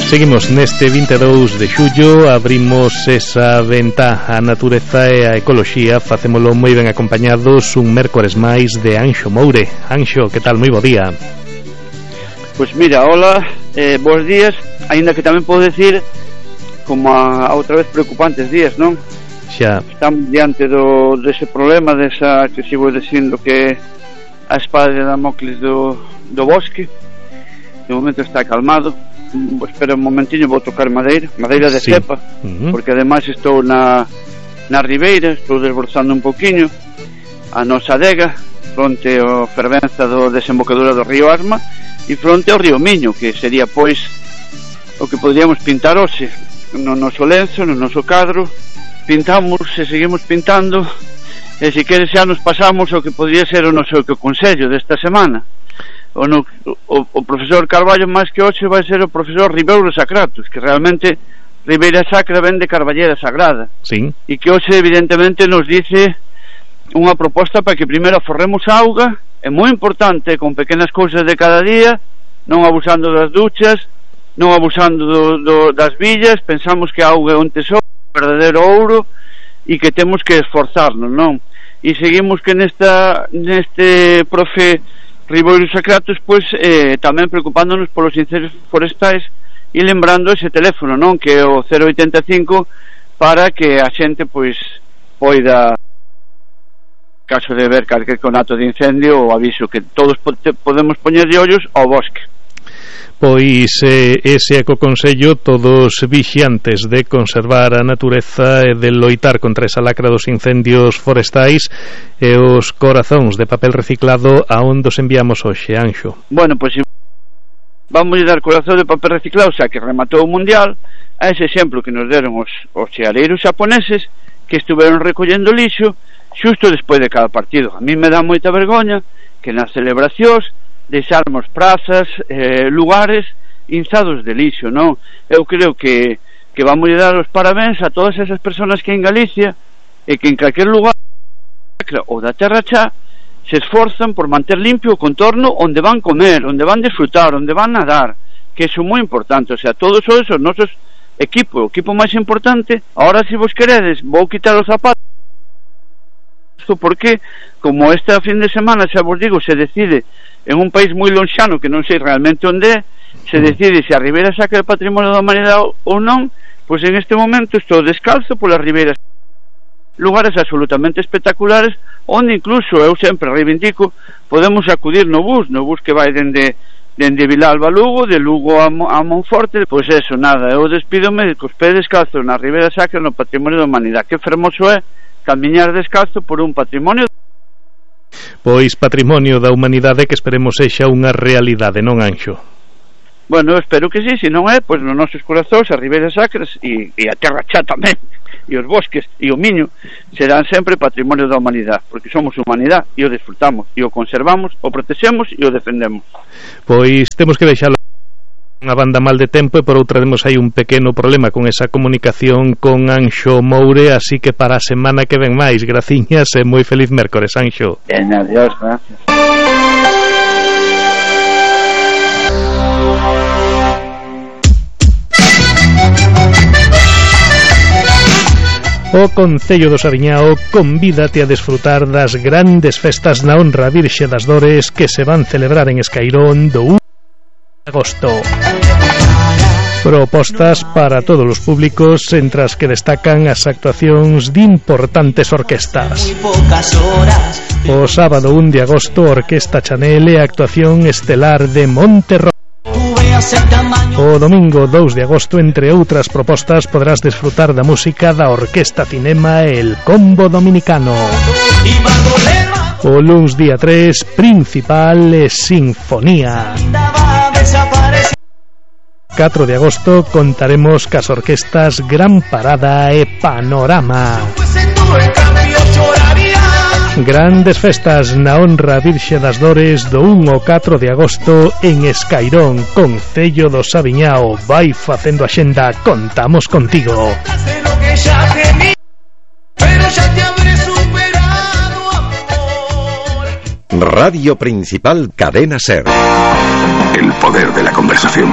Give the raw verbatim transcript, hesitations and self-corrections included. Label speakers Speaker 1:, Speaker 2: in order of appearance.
Speaker 1: Seguimos neste vinte e dous de xullo, abrimos esa ventá a natureza e a ecoloxía, facémolo moi ben acompañados un mércores máis de Anxo Moure. Anxo, que tal? Moi bo día.
Speaker 2: Pois mira, hola, eh, bons días, aínda que tamén podo decir como a, a outra vez preocupantes días, non?
Speaker 1: Xa.
Speaker 2: Estamos diante do, dese problema, desa que sigo dicindo que a espada de Damocles do, do bosque. De momento está calmado. Espera un momentinho, vou tocar madeira madeira de sí. cepa, uh-huh. porque ademais estou na, na ribeira, estou desbrozando un poquinho a nosa adega fronte ao fervenza do desembocadura do río Asma e fronte ao río Miño, que sería pois o que podríamos pintar hoxe no noso lenzo, no noso cadro. Pintamos e seguimos pintando, e se queres xa nos pasamos o que podría ser o noso consello desta semana. O, no, o, o profesor Carballo máis que hoxe vai ser o profesor Ribeiro Sacratus, que realmente Ribeira Sacra ven de Carballera Sagrada,
Speaker 1: sí.
Speaker 2: E que hoxe evidentemente nos dice unha proposta para que primeiro aforremos a auga, é moi importante, con pequenas cousas de cada día, non abusando das duchas, non abusando do, do, das villas. Pensamos que a auga é un tesoro, un verdadeiro ouro, e que temos que esforzarnos, non? E seguimos que nesta neste profe Ribeiro Sacratus, pois eh, tamén preocupándonos polos incendios forestais e lembrando ese teléfono, non? Que é o cero oitenta e cinco, para que a xente pois poida, caso de ver calquer conato de incendio, o aviso que todos podemos poñer de ollos ao bosque.
Speaker 1: Pois eh, ese ecoconsello, todos vixiantes de conservar a natureza e de loitar contra esa lacra dos incendios forestais, e os corazóns de papel reciclado a onde os enviamos hoxe, Anxo?
Speaker 2: Bueno, pois vamos a dar corazón de papel reciclado, xa que rematou o mundial, a ese exemplo que nos deron os, os xeareiros xaponeses, que estuveron recollendo lixo xusto despois de cada partido. A mí me dá moita vergoña que nas celebracións deixarmos prazas, eh, lugares inzados de lixo, non? Eu creo que, que vamos a dar os parabéns a todas esas personas que en Galicia e que en calquer lugar ou da terra xa se esforzan por manter limpio o contorno onde van comer, onde van disfrutar, onde van nadar, que iso é moi importante. O sea, todos esos nosos equipo, o equipo máis importante. Ahora, se vos queredes, vou quitar os zapatos, porque como esta fin de semana, xa vos digo, se decide en un país moi lonxano, que non sei realmente onde é, se decide se a Ribeira Sacra é patrimonio da humanidade ou non. Pois en este momento estou descalzo polas ribeiras, lugares absolutamente espectaculares, onde incluso eu sempre reivindico, podemos acudir no bus, no bus que vai dende dende Vilalba a Lugo, de Lugo a, a Monforte. Pois eso, nada, eu despídome cos pés descalzos na Ribeira Sacra, no patrimonio da humanidade. Que fermoso é camiñar descalzo por un patrimonio.
Speaker 1: Pois patrimonio da humanidade que esperemos sexa unha realidade, non, Anxo?
Speaker 2: Bueno, espero que sí, se non é, pois nos nosos corazóns, as ribeiras sacras e, e a terra xa tamén, e os bosques e o Miño serán sempre patrimonio da humanidade, porque somos humanidade e o disfrutamos, e o conservamos, o protexemos e o defendemos.
Speaker 1: Pois temos que deixalo unha banda mal de tempo, e por outra temos aí un pequeno problema con esa comunicación con Anxo Moure, así que para a semana que ven máis. Graciñas e moi feliz mércores, Anxo.
Speaker 2: Ben, adiós, gracias.
Speaker 1: O Concello do Saviñao convídate a desfrutar das grandes festas na honra Virxe das Dores que se van celebrar en Escairón do un de agosto. Propostas para todos os públicos, entre as que destacan as actuacións de importantes orquestas. O sábado un de agosto, Orquesta Chanel e a actuación estelar de Monterrey. O domingo dous de agosto, entre outras propostas, podrás desfrutar da música da Orquesta Cinema e el Combo Dominicano. O luns día tres, Principal e Sinfonía. catro de agosto contaremos cas orquestas Gran Parada e Panorama. Grandes festas na honra Virxe das Dores do un ao catro de agosto en Escairón. Concello do Saviñao. Vai facendo a xenda, contamos contigo.
Speaker 3: Radio Principal, Cadena Ser.
Speaker 4: El poder de la conversación.